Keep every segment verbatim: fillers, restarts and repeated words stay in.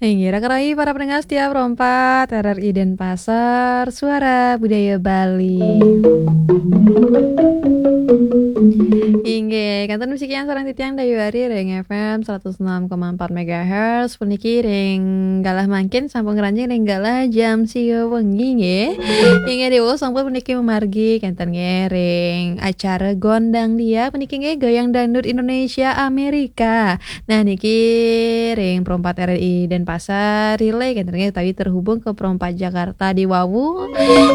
Inggih, raka rayi para pendengar setia Pro empat R R I Denpasar, Suara Budaya Bali. Inggih, kantun masikian sareng titiang Dayu Ari ring F M seratus enam koma empat megahertz, puniki ring galah mangkin sampun ngranjing ring galah jam sia wengi nggih. Inggih, diwau sampun puniki mamargi kenten nggih ring acara Gondang Dia puniki nggih Goyang Dangdut Indonesia Amerika. Nah, niki ring Pro empat R R I Denpasar, relay kenten nggih utawi terhubung ke Pro empat Jakarta diwawu.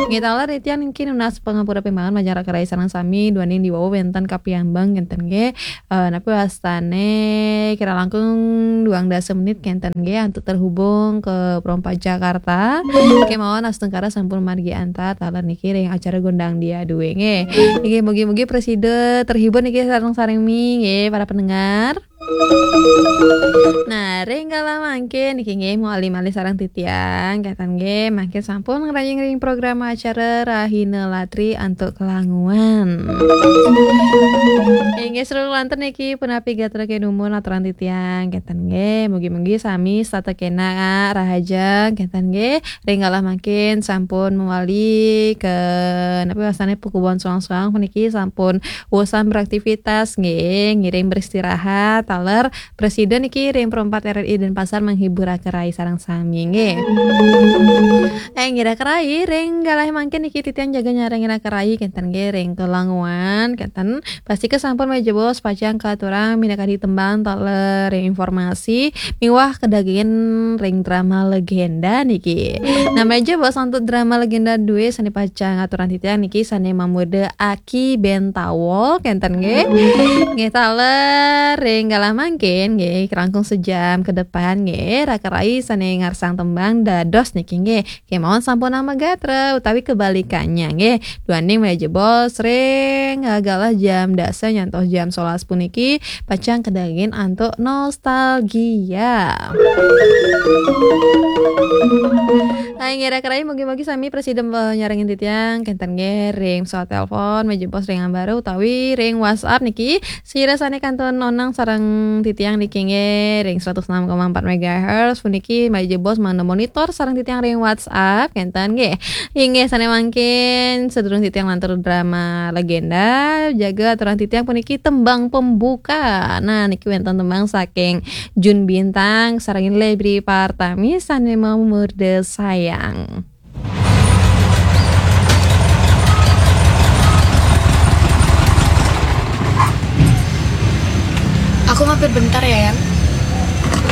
Nggih taler titiang niki nunas pangapura pimangan majeng raka rayi sareng sami duaning diwawu wenten kapiambang kenten nggih. Eh, napi wastane kira langkung duang dasa menit kenten nggih antuk terhubung ke Pro empat Jakarta. Kemawon astungkara sampun margi antar taler niki ring acara Gondang Dia duwe nggih. Nggih, mugi-mugi prasida terhibur niki sareng-sareng mi nggih para pendengar. Nah, ring kala mangkin niki nggih malih-malih sareng titiang kenten nggih mangkin sampun ngranjing ring program acara Rahina Latri antuk kelanguan. Inggih, seru lantur niki punapi gatra kedumun aturan titiang kenten nggih. Mugi-mugi sami setata kenak rahaja kenten nggih. Ring kala mangkin sampun mawali ke napi wastane pakubuhan soang-soang puniki sampun wusan beraktivitas nggih, ngiring beristirahat taler prasida niki ring Pro empat R R I Denpasar menghibur raka rayi sareng sami nggih. Eh, nggih raka rayi ring galah mangkin niki titiang jaga nyarengin raka rayi kenten nggih ring kelanguan kenten. Pastika sampun malih jebos pacang katurang minakadi tembang taler ring informasi miwah kadagingin ring drama legenda niki. Nah, malih jebos antuk drama legenda duwe sane pacang aturang titiang niki sane mamurda Aki Bentawo kenten nggih. Nggih taler ring galah mangkin nggih langkung sejam ke depan nggih raka rayi sane ngarsang tembang dados niki nggih. Kemawon sampun nama gatra utawi kebalikannya nggih. Duaning malih jebos ring galah jam dasa nyantos jam sebelas puniki pacang kadagingin antuk nostalgia. Hai nggih raka rayi, mugi-mugi sami prasida nyarengin titiang kenten nggih ring pesawat telepon, malih jebos ring ambara utawi ring WhatsApp niki. Sira sane kantun onang sareng titiang niki nggih ring seratus enam koma empat megahertz puniki malih jebos mangda monitor sareng titiang ring WhatsApp kenten nggih. Inggih sane mangkin sadurung titiang lantur drama legenda jaga aturang titiang puniki tembang pembuka. Nah, niki wenten tembang saking Jun Bintang sareng Lebri Partami sane mamurda sayang. Aku mampir bentar ya, Yang.